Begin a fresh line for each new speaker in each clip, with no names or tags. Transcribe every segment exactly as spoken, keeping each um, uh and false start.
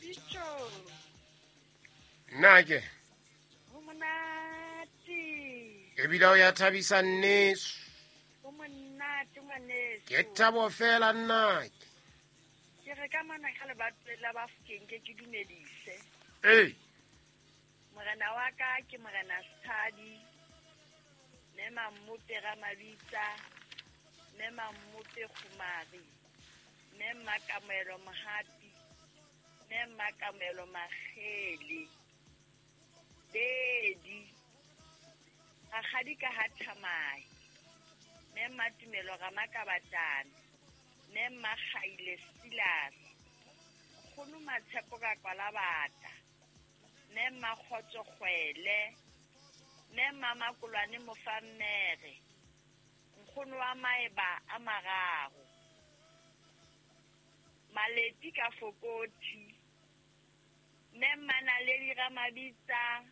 Pitso.
Nna ke.
Ho monate.
Ebile o ya thabisa nneso.
Ho monate ngwaneso.
Ke thabo fela nna ke.
Ke re ka mona ka lebatoweng la Bafokeng ke ke dumedise.
Ee.
Morena wa ka ke Morena Setshadi. Mme Mammope Ramabitsa. Mme Mammope Kgomari. Mme Mmakamoelo Mohapi. Mme Mmakamoelo Makgele. Bedi. Rakgadi ka ha Thamai. Mme Mmatumelo Ramakabatana. Mme Mmakgaile Silas. Nkgono Matshepo ka Kwalabata. Mme Mmakgotso Kgwele. Mme Mmamakolwane Mofammere. Nkgono wa maeba a mararo. Maleti ka Fokothi. Mme Mmanaledi Ramabitsa.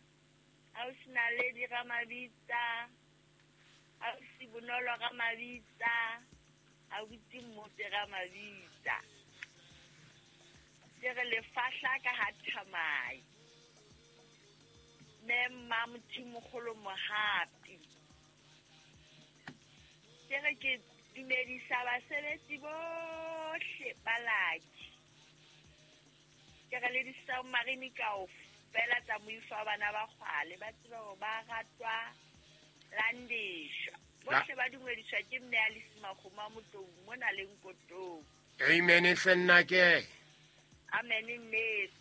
Ausi Naledi Ramabitsa. Ausi Bonolo Ramabitsa. Ausi Mmope Ramabitsa. Ke re lefahla ka ha Thamai. Mme Mmamothimogolo Mohapi. Ke re ke dumedisa basebetsi bohle ba Lucky. Ke re le di-submarine kaofela tsa moifo wa bana ba kgwale ba tsebe hore ba ratwa landeshwa. Bohle ba dumediswa ke mme Alice Makgomo a Motlou mona le Nkotong.
Amen hle nna ke.
Amen nneso.